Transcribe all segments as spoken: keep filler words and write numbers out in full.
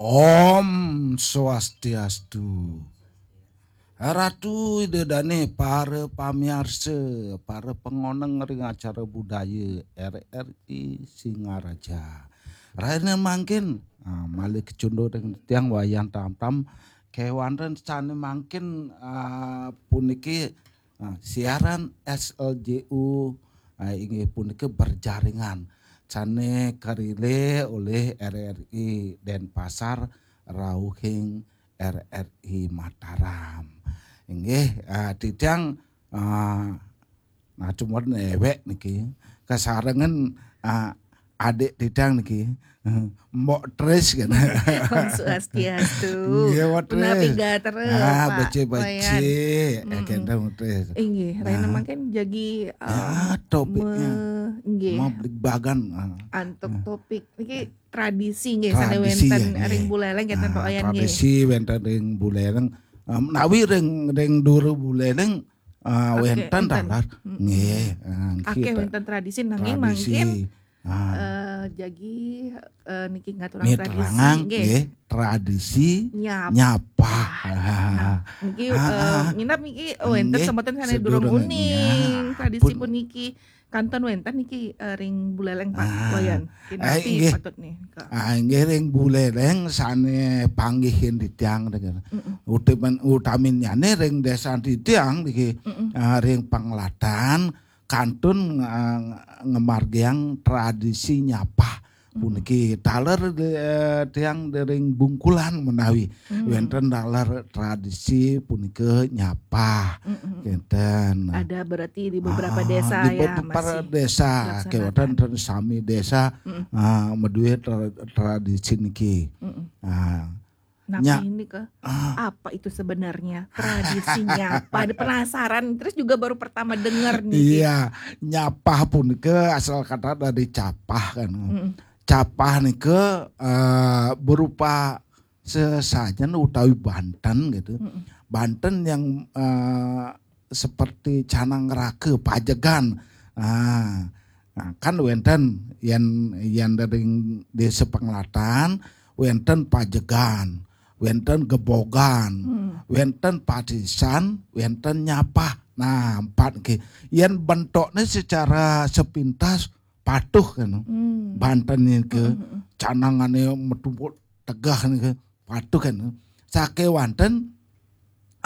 Om Swastiastu. Ratu Ida Dane, para pamiarsa, para pengoneng ring acara budaya R R I Singaraja. Rahina mangkin, ah, malih kacunduk ring tiang Wayan Tamtam, kewanten sane mangkin, ah, puniki, ah, siaran S L J U, ah, inggih punika berjaringan sane karile olih R R I Denpasar rauhing R R I Mataram. Inggih, ah, titiang, ah, nah, cuma ewek niki kasarengan, ah, adik titiang niki, eh, Mbok Tris kan. Om Swastiastu. Nggih, Mbok Tris. Punapi gatra, Ah, Pak becik-becik, Wayan. ya, kenten, Mbok Tris. Inggih, rahina Nah. mangkin jagi, eh, Ah, topiknya. me-, inggih. Mau beli bagan. Ah. Antuk topik niki tradisi nggih Tradisi, sane wenten ya, nggih. Ring Buleleng kenten, Ah, Pak Wayan, nggih. tradisi wenten ring Buleleng. Ah, menawi ring, ring dura Buleleng, ah, Oke, wenten wenten. taler. Mm. Nggih, ah, Akeh kita wenten tradisi nanging tradisi. mangkin, Ah. eh, jagi, eh, niki ngaturang Nggih, tradisi terangang, nggih. Nggih, tradisi Nyap. nyapa. Nah, niki, Ah, eh, ah. Nginap niki, oh, wenten Nggih, semeton sane sedurung durung uning. nggih. Tradisi Pun puniki kantun wenten niki, eh, ring Buleleng, Pak Ah. Wayan. Eh, Kinapi nggih. Patut nih, Kak? Ah, inggih ring Buleleng sane panggihin titiang, Mm-mm. utamin, utaminnyane ring desa titiang niki, Mm-mm. ah, ring Penglatan kantun, ah, ngamargiang tradisi nyapah. Hmm. Puniki taler, eh, tiang ring Bungkulan menawi. Hmm. Wenten taler tradisi punika nyapah. Hmm. Kenten. Ada berarti di beberapa, ah, desa, di, ya, beberapa masih desa, dilaksanakan. Kewenten ten sami desa, hmm, ah, maduwe tra-, tradisi niki. Hmm. Ah. Nah, nya-, ini ke, ah, apa itu sebenarnya tradisi nyapah? Ada penasaran, terus juga baru pertama dengar nih. Iya, nyapah punika asal kata dari capah kan. Mm-mm. Capah nika, eh, berupa sesajen utawi banten gitu. Mm-mm. Banten yang, eh, seperti canang raga, pajegan. Nah, nah, kan wenten yen, yen ring desa Penglatan, wenten pajegan, wenten gebogan, hmm, wenten patisan, wenten nyapah. Nah, empat nggih. Yen bentuknya secara sepintas patuh kan. Hmm. Banten niki, hmm, hmm, hmm, canangane metu tegah niki, patuh kan. Sakewanten,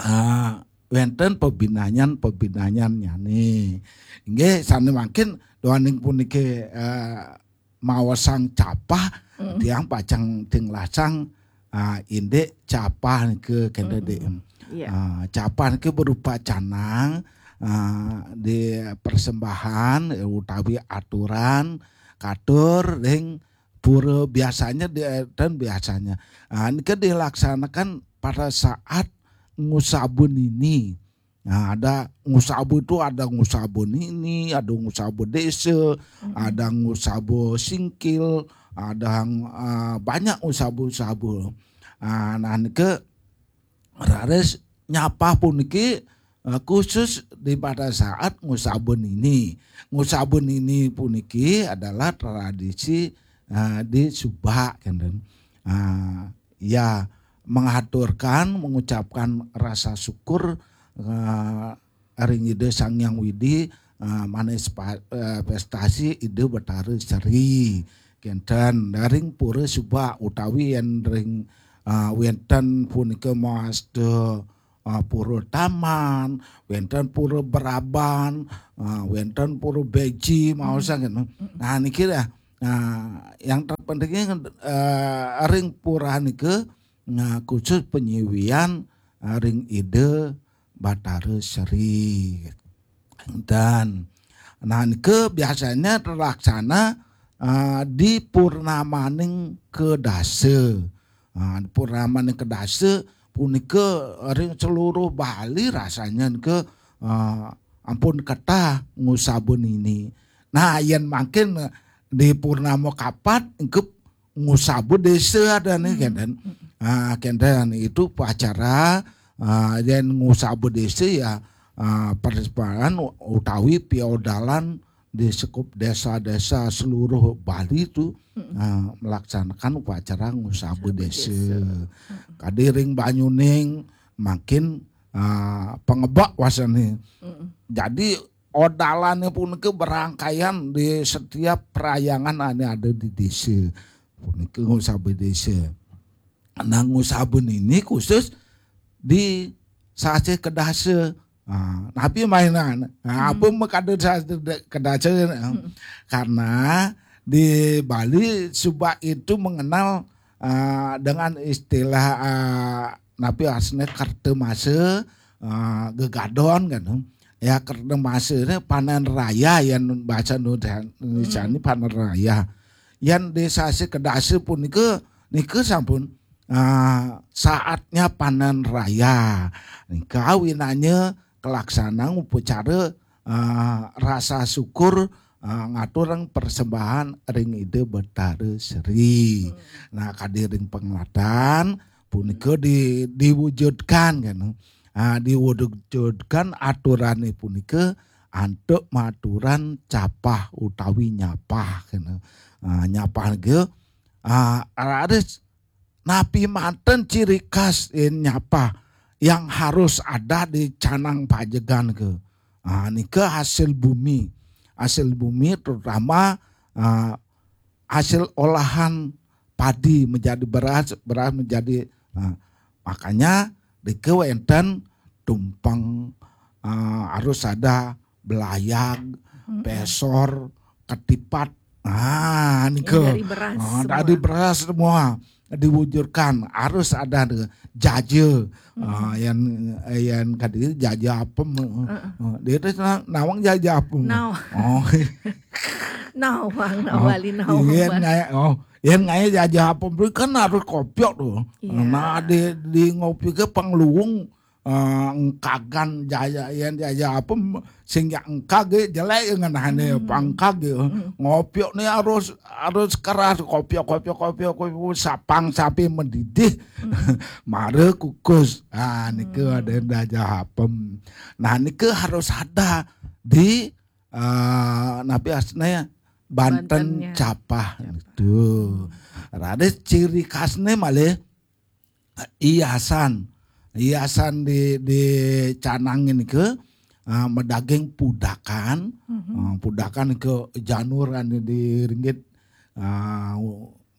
ah, wenten pebinayan-pebinayannyane. Nggih, sane mangkin duaning puniki, eh, maosang capah, mm, tiang pacang tinglasang, ah, indik capah niki kenten, mm, Dik. Iya. Ah, capah niki berupa canang, ah, di persembahan, eh, utawi aturan katur ring pura biasanya di, dan biasanya. Ah, niki dilaksanakan pada saat ngusaba nini. Nah, ada ngusaba itu, ada ngusaba nini, ada ngusaba desa, mm-mm, ada ngusaba singkil, ada, ah, banyak ngusaba-ngusaba. Ah, nah, niki raris nyapah puniki, eh, khusus di pada saat ngusaba nini. Ngusaba nini puniki adalah tradisi, eh, di Subak, kenten. Ah, ya, mengaturkan, mengucapkan rasa syukur, eh, ring Ida Sang Hyang Widi, eh, manifestasi Ida Betara Sri. Kenten, ring Pura Subak utawi yen ring, eh, wenten punika mawasta, eh, Pura Taman, wenten Pura Beraban, eh, wenten Pura Beji, maosang kenten. Nah, niki dah. Nah, yang terpentingnya, eh, ring pura nika, nah, khusus penyiwian, eh, ring Ida Batara Sri. Dan, nah, nika biasanya terlaksana, eh, di purnamaning kedasa. Nah, di purnamaning kedasa punika ring seluruh Bali rasanya nika, eh, ampun ketah ngusaba nini. Nah, yen mangkin di purnama kapat engke ngusaba desa adane, mm, kenten. Mm. Ah, kenten itu upacara, ah, yen ngusaba desa ya, ah, persembahan utawi piodalan di sekup desa-desa seluruh Bali itu, eh, melaksanakan upacara ngusaba desa. Kadi ring Banyuning makin, eh, pangebek wasane. Jadi odalane punika berangkaian di setiap perayaan ane ada di desa. Punika ngusaba desa. Nah, ngusaba nini khusus di sasih kedasa. Ah, napi mainan? Ah, apa makada sasih kedasa? Karena di Bali suba itu mengenal, ah, dengan istilah, ah, napi asne kerta masa, ah, gegadon kan. Ya, kerta masa ni panen raya yang bahasa Indonesia ni panen raya. Yang di sasih kedasa punika nika sampun, ah, saatnya panen raya. Nika winanya kelaksanaan upacara, ah, rasa syukur, ah, ngaturang persembahan ring Ida Betara Sri. Nah, kadi ring penglatan punika di, diwujudkan kan. Ah, diwujudkan aturane punika antuk maturan capah utawi nyapah kan. Ah, nyapah nggih, ah, raris napi manten ciri khas in nyapah yang harus ada di canang pajegan ke. Ah, nika hasil bumi. Hasil bumi terutama, ah, hasil olahan padi menjadi beras, beras menjadi, ah, makanya nika wenten tumpeng, ah, harus ada belayag, pesor, ketipat. Ah, nika. Yang dari beras Ah, semua. Dari beras semua diwujudkan harus ada de-, jaja. Ah, yang, yang kadi jaja apem. Ah, dia tu na-, nawang jaja apem. Nawang. Oh. Nawang, nawali nawang. Iya, naya, oh, yang naya jaja apem tu kan harus kopiok tu. Iya. Nah, di, di ngopi ke pangluung, ah, engkagan jaja, yang jaja apem sing ya engkag, eh, jelek ngenahne pangkag, eh. Ngopiok ni harus, harus keras, kopiok, kopiok, kopiok, kopiok, sapang sampai mendidih. Mara kukus. Ah, nika ada jaja apem. Nah, nika harus ada di, ah, napi asne banten capah itu. Raris ciri khasne malih hiasan. Hiasan di, di canang nika, ah, madaging pudakan. Ah, pudakan ke janur ane di ringgit, ah,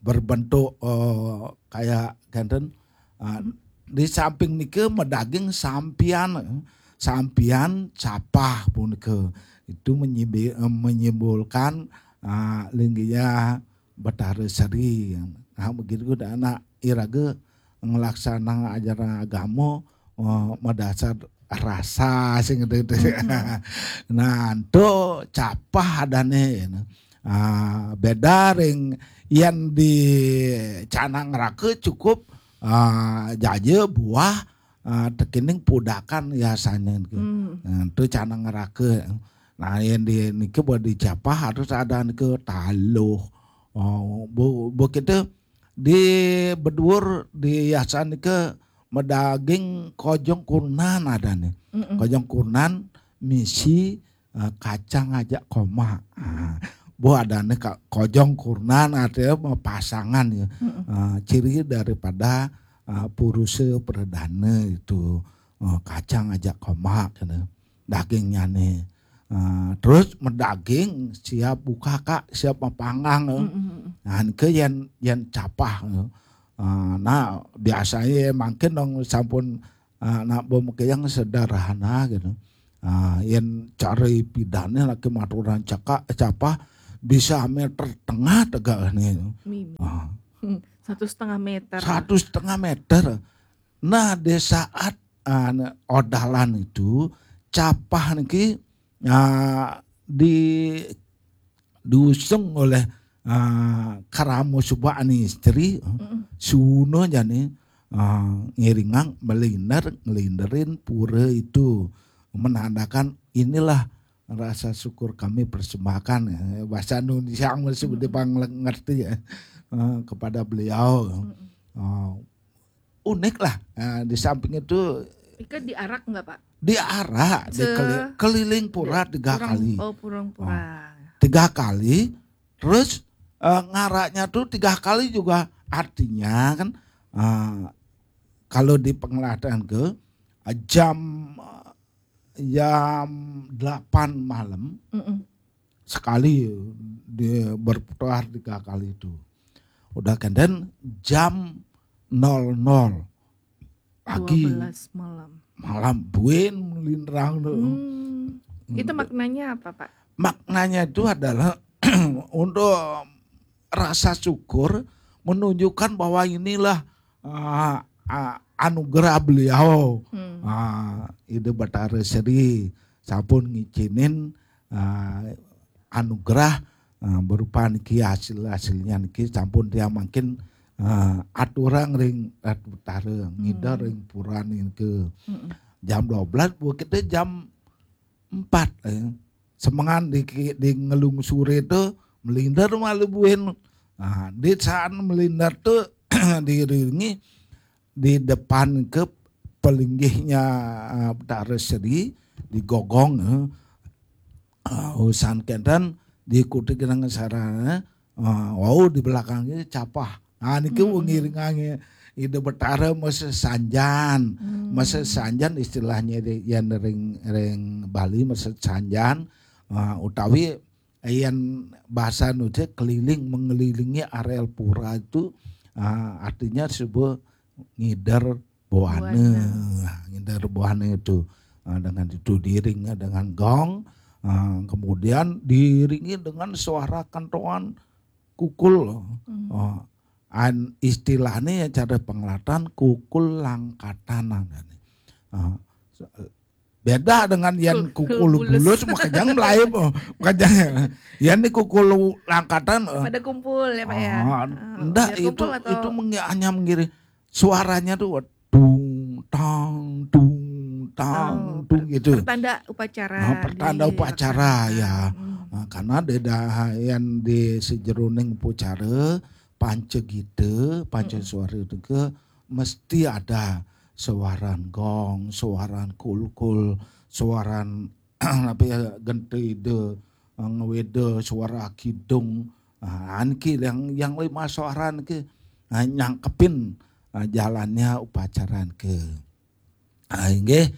berbentuk, eh, kayak kenten. Ah, di samping nika madaging sampian, sampian capah punika. Itu menyimbi-, eh, menyimbolkan, ah, linggihnya Betara Sri. Nah, begitu dah anak iraga ngelaksanang ajaran agama, eh, madasar rasa sing gitu. Nah, ento capah adane. Ah, beda ring yang di canang raka cukup, ah, jaja buah, ah, tekening pudakan hiasannya gitu. Nah, itu canang raka. Nah, yang di niki buat di capah harus ada niki taluh. Oh, bu, bu kita di beduur di hiasan nika madaging kojong kurnan ada nih. Kojong kurnan misi, eh, kacang aja koma. Ah, bu ada nih ka-, kojong kurnan ada pasangan ya. Ah, ciri daripada, ah, purusa perdana itu. Ah, kacang aja koma kena dagingnya nih. Ah, terus madaging siap buka kak, siap mapanggang, eh. Nah, ke yang, yang capah, eh. Ah, nah, biasanya mangkin dong sampun, ah, nak pemakian sederhana gitu. Ah, yang cari pidane lagi maturan cakak, capah bisa meter tengah tegak nih. Ah. Satu setengah meter. Satu setengah meter. Nah, di saat, ah, odalan itu capah niki, ah, di diusung oleh, ah, Karamo Subak ani istri, Suno jani, ah, ngiringang meliner, ngelinderin pura itu menandakan inilah rasa syukur kami persembahkan, eh, bahasa Indonesia masih seperti pang ngerti ya, eh, kepada beliau. Eh, unik lah. Eh, di samping itu Ika diarak nggak pak? Diarak, Se- dikeli- keliling pura tiga Purang- kali. Oh purang pura. Tiga kali, terus Eh, ngaraknya tuh tiga kali juga, artinya kan, eh, kalau di penglihatan ke, eh, jam jam delapan malam, Mm-mm. sekali dia berputar tiga kali itu. Udah kenten jam nol nol lagi, dua belas malam. Malam buin melindrang tuh. Hmm. Itu maknanya apa, Pak? Maknanya itu adalah untuk rasa syukur, menunjukkan bahwa inilah, ah, ah, anugerah beliau. Hmm. Ah, Ida Betara Seri sampun ngicinin, ah, anugerah, ah, berupa niki hasil-hasilnya niki sampun tiang mangkin, ah, aturang ring Ratu Betara, ngidar Hmm. ring pura niki. Mm-mm. Jam dua belas, buat kita jam empat, eh. Semengan di, di ngelungsuri itu melindar malu buin. Nah, di saat melindar tuh diiringi di depan ke pelinggihnya, eh, Betara Seri di gogong, eh. Ah, usan kenten diikuti dengan sarana, ah, wau di belakangnya capah. Nah, niki Hmm. ngiringannya Ida Betara masa sanjan. Hmm. Masa sanjan istilahnya di, yang ring, ring Bali masa sanjan, ah, utawi yang bahasa nuja keliling, mengelilingi areal pura itu, ah, artinya sebuah ngider buana. Buana. Nah, ngider buana itu, ah, dengan itu diiringi dengan gong, ah, kemudian diiringi dengan suara kentongan kukul. Hmm. Ah, an istilahnya ya cara penglihatan kukul langkatan namanya. Ah, beda dengan yang Kul- kukul kul bulus. Bulus, makanya mulai, oh, makanya yang ini kukul langkatan, eh. Pada kumpul ya, Pak, ya? Ah, Ah, enggak, biar itu kumpul atau itu mengi- hanya mengiring suaranya tuh dung tang dung tang Oh, dung per- gitu. Pertanda upacara. Nah, pertanda upacara, Dilaksanakan. Ya. Hmm. Nah, karena ada yang di sejeroning upacara panca gita, panca Mm-mm. suara itu ke mesti ada suaran gong, suaran kulkul, suaran apa ya, gentida, ngeweda, suara kidung. Nah, anki yang yang lima suara ke, nah, nyangkepin, nah, jalannya upacara ke. Ah, inggih,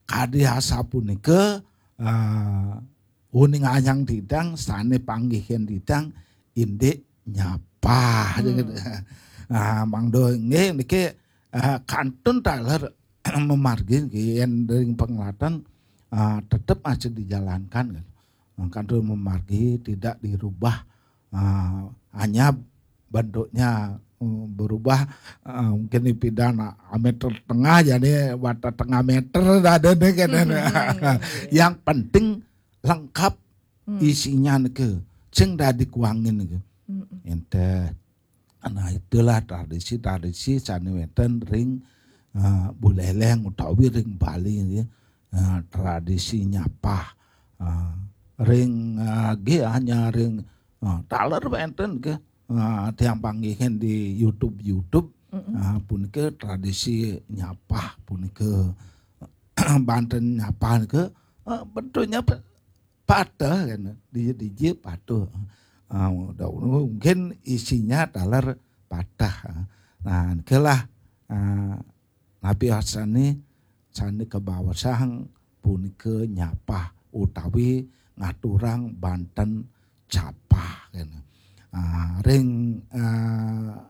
kadi asapunika, ah, uning anyang titang, sane panggihin titang, indik nyapah. Hmm. Ah, mangda inggih niki, ah, kantun taler memargi nggih, yen ring penglihatan, ah, tetep aja dijalankan, kan. Ah, kantun memargi, tidak dirubah. Ah, hanya bentuknya, mm, berubah, ah, mungkin di pidan, ah, meter tengah, jadi wadah tengah meter ada nih, kan. Hmm. Yang penting lengkap Hmm. isinya niki. Sing dadi kuangin niki. Hmm. Ente. Nah, itulah tradisi-tradisi sane wenten ring, ah, Buleleng utawi ring Bali nggih. Ah, tradisi nyapah. Ah, ring, ah, nggih, hanya ring, ah, taler wenten nggih. Ah, tiang panggihin di YouTube, YouTube. Mm-mm. Ah, punika tradisi nyapah punika. Banten nyapah nika, ah, bentuknya pe- patah kan. Dije-dije patah. Ah, udah, mungkin isinya taler patah. Nah, nikelah, ah, napi asane sane kabaosang punika nyapah utawi ngaturang banten capah kan. Ah, ring, ah,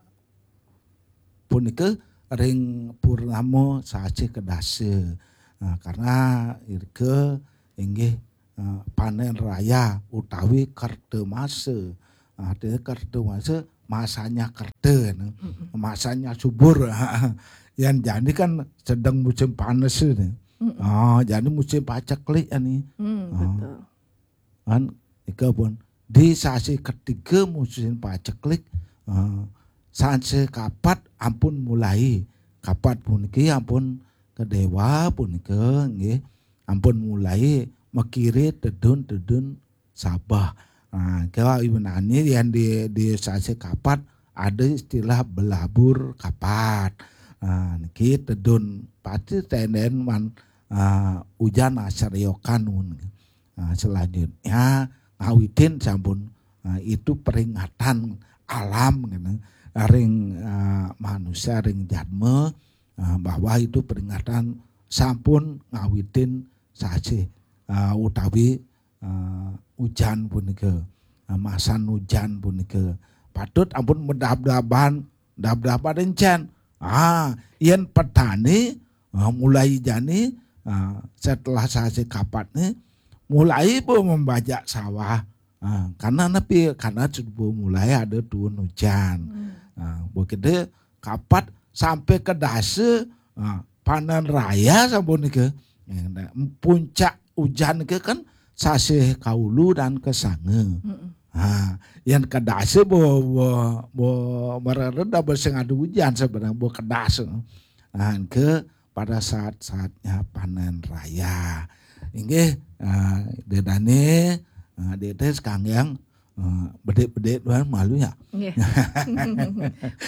punika ring purnama sasih kedasa. Nah, karena irika inggih, eh, panen raya utawi kerta masa. Nah, artinya kerta masa, masanya kerta, nah. Mm-mm. Masanya subur. Yang jadi kan sedang musim panas ini. Mm-mm. Ah, jadi musim paceklik ini. Hmm, Ah. betul. Kan, nika pun di sasi ketiga musim paceklik, eh, sasi kapat ampun mulai. Kapat puniki ampun kedewa punika nggih. Ampun mulai makire tedun-tedun sabah. Nah, kalau ibu nani yang di, di sasi kapat ada istilah belabur kapat. Nah, niki tedun pati tenden man, ah, ujan asaryokan. Nah, selanjutnya ngawitin sampun Nah, itu peringatan alam gitu. Ring, eh, manusia, ring jadma, eh, bahwa itu peringatan sampun ngawitin sasih, eh, utawi, eh, ujan punika. Eh, masan ujan punika. Patut ampun madabdaban, dabdaban encen. Ah, yen petani, eh, mulai jani, eh, setelah sasih kapatne, mulai bo membajak sawah. Ah, karena napi? Karena suba mulai ada turun hujan. Hmm. Ah, begitu kapat sampai ke dasa, ah, panen raya sampun nika. Nah, puncak hujan ke kan sasih kaulu dan kesanga. Mm-mm. Ha, yang ke dasa bo, bo, bo mereret dah sing ada hujan sebenarnya bo ke dasa. Nah, ke pada saat-saatnya panen raya. Inggih, ah, dedane, ah, dede sekalian, ah, bedik-bedik doang malu ya. Nggih.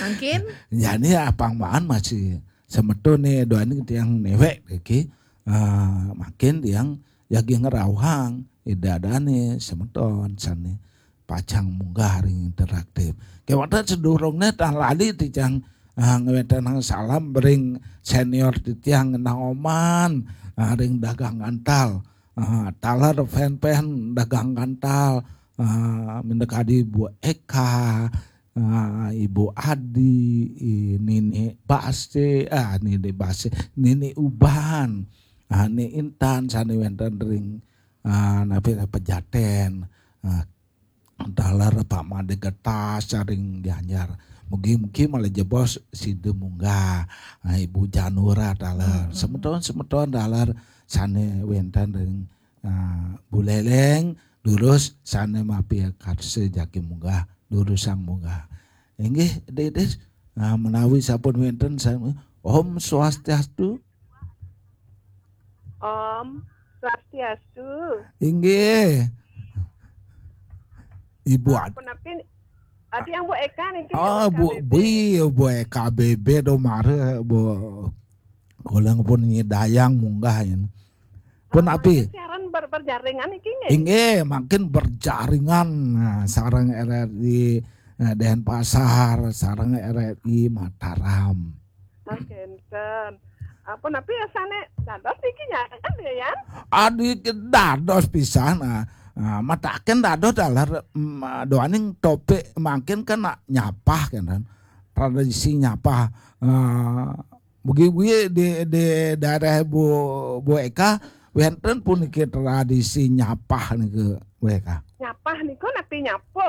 Mungkin. Jani apang maan masih semeton nih doaning tiang newek iki. Ah, makin tiang jagi ngerauhang idadane semeton sane pacang munggah ring interaktif. Kewanten sedurungne tan lali titiang, ah, ngwetenang salam ring senior titiang ngenang oman, ah, ring dagang gantal. Ah, taler fan-fan dagang gantal. Ah, minda kadi Bu Eka, ah, Ibu Adi, i, Nini Base, ah, Nini Base, Nini Uban, ah, Ni Intan sane wenten ring, ah, napi Pejaten. Ah, taler Pak Made Getas ring Gianyar. Mugi-mugi malih jebos sida munggah. Ah, Ibu Janura taler. Hmm, hmm. Semeton-semeton taler sane wenten ring, ah, Buleleng, durus sane mapikarsa jagi munggah, durusang munggah. Inggih, Dedis, ah, menawi sampun wenten sami. Om Swastiastu. Om Swastiastu. Inggih. Ibu Ad- Punapi, adi yang Bu Eka niki, Oh, Bu, Bu Eka B B. Bu, Bu Eka B B do mare, Bu. Kula pun nyidayang munggah ini. Punapi? Siaran ber-, berjaringan iki nggih? Inggih, makin berjaringan, nah, sareng R R I, eh, Denpasar, sareng R R I Mataram. Oh, kenten. Apa napi asane dados niki nyakan ya, Yan? Adi dados pisan, ah. Ah, mataken dados dalar, mm, doaning topik mangkin kan nak nyapah kan, kan. Tradisi nyapah. Ah, mugi-mugi di, di daerah Bu, Bu Eka wenten puniki tradisi nyapah niki, Bu Eka. Nyapah niku napi nyapu?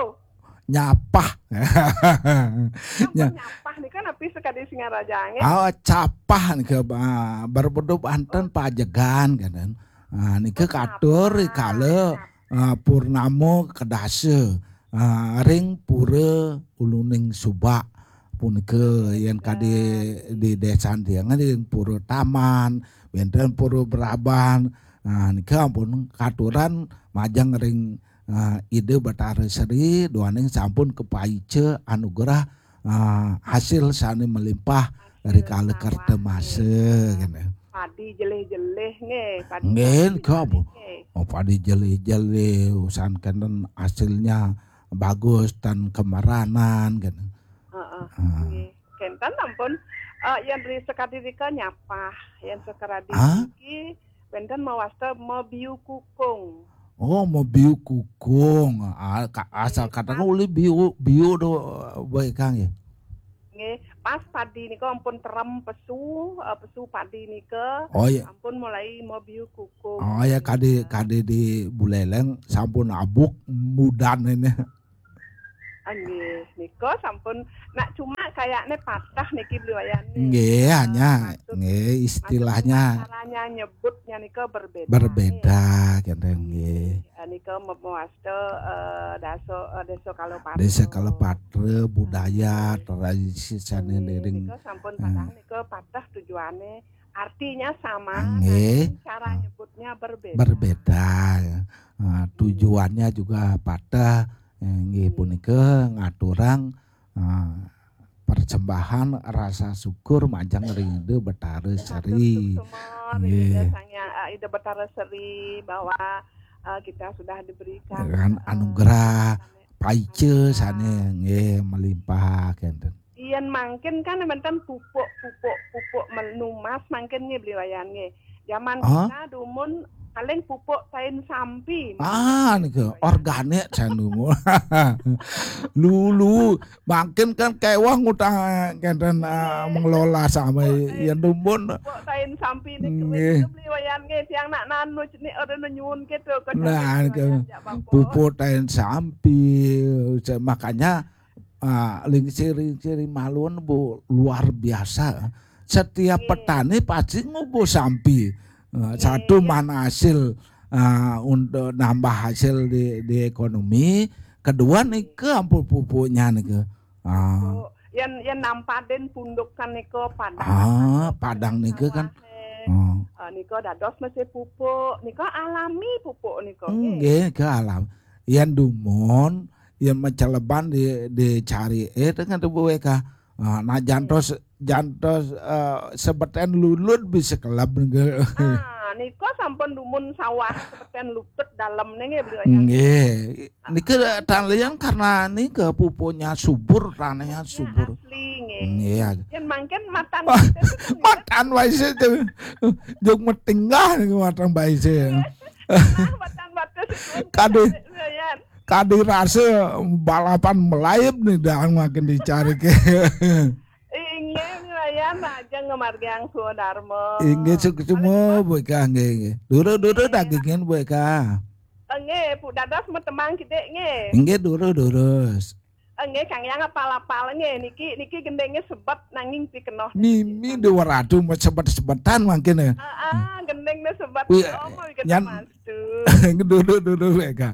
Nyapah. Ampun, nya- nyapah nika napi sekadi Singaraja nggih? Ah, capah nika, ah, berbentuk banten pajegan kan. Ah, nika katur rikala, ah, purnama kedasa, ah, ring pura Uluning Subak punika yen kadi di desan tiang ring pura Taman, wenten pura Braban. Ah, nika ampun katuran majeng ring ah, Ida Batara Sri, duaning sampun kapaica anugerah, ah, hasil sane melimpah rikala kerta masa, kene. Padi jelih-jelih nggih, padi Nggih, padi nika apa? Nggih. Oh, padi jelih-jelih, usan kenten hasilnya bagus dan kemeranan, kene. Heeh, ah, nggih. Kenten ampun, eh, yen ri sekadi rika nyapah, yen sekadi ah? Niki wenten mawasta mabiu kukung. Oh, mabiu kukung. Ah, ka-, asal kata kan ulih biu, biu do, baik, Kang, ya? Nggih, pas padi nika ampun terem pesu, eh, pesu padi nika. Oh, iya. Ampun mulai mabiu kukung. Oh, ya, kade, kade di Buleleng sampun abuk mudan ini. Nggih, nika sampun nak cuma kayakne patah niki beli wayahne. Nggih, eh, hanya, maksud, nggih, maksud istilahnya caranya nyebutnya nika berbeda. Berbeda, kenten, nggih. Eh, nika me-, mewasta, eh, dasa, eh, desa Kalopatra. Desa Kalopatra, budaya, nggih, tradisi sane nggih, dering, nika sampun eh, patah nika patah tujuane artinya sama, nggih, namun cara ah, nyebutnya berbeda. Berbeda, ya. Ah, hmm, tujuannya juga patah. Eh, nggih, hmm, punika ngaturang, ah, persembahan rasa syukur majeng ring Ida Betara Seri. Matur suksma ring Ida Sang Hyang, eh, Ida Betara Seri bahwa, eh, kita sudah diberikan, dengan, eh, anugerah, kaica sané nggih melimpah kénten. Yen mangkin kan wénten pupuk-pupuk, pupuk menumas mangkin nggih Beli Wayan nggih. Zaman Ah? kita dumun paling pupuk tain sampi. Ah, nika organik sanu. Lulu, mangkin kan kéweh ngutang kénten ah, mengelola sama yen dumun. Pupuk tain sampi nih Nggih. Beli Wayan nggih tiang nak nanu nih ora nyuwun gitu. Nah, nika pupuk tain sampi. Makanya ah, lingsir-lingsir maluan bu luar biasa. Setiap petani pasti ngubuh sampi. Ah, satu mana hasil ah, untuk nambah hasil di, di ekonomi. Kedua nika ampun pupuknya nika. Ah, Yen yen nampadin pundukan nika padang. ah, padang nika kan. Sawahé. Oh. Ah, nika dados mesti pupuk, nika alami pupuk nika. Nggih, ke alam. Yen dumun, yen maceleban di dicari eh dengan tubuh weka. Ah, nah jantos jantos eh, sebeten lulut bisa kelab nggih. Ah, nika sampun dumun sawah sepeten lutut dalem nih nggih Beli Wayan. Nggih. Nika tan liyan karena nika pupuknya subur, tanahnya subur. Asli nggih. Nggih. Yen mangkin matan Matan wae sih tuh. Jog metinggah nih matan bae sih. matan batas Kadé Yan. kadé rasa balapan melayep nih dah makin dicari ke. Inggih Yan aja ngemargiang Swadarma. Inggih suksma Bu Eka nggih nggih. Durus-durus dagingin Bu Eka. Nggih, Pu Dadas metembang kidik nggih. Inggih durus-durus. Nggih, Kang Yang apal-apal nggih niki niki gendenge sebet nanging pikenoh. Mimi dua ratu sebet-sebetan mangkin ya. Ah, gendeng ne sebet. Wih, Oh, mau ikan nyan- mastu. Durus-durus Bu Eka.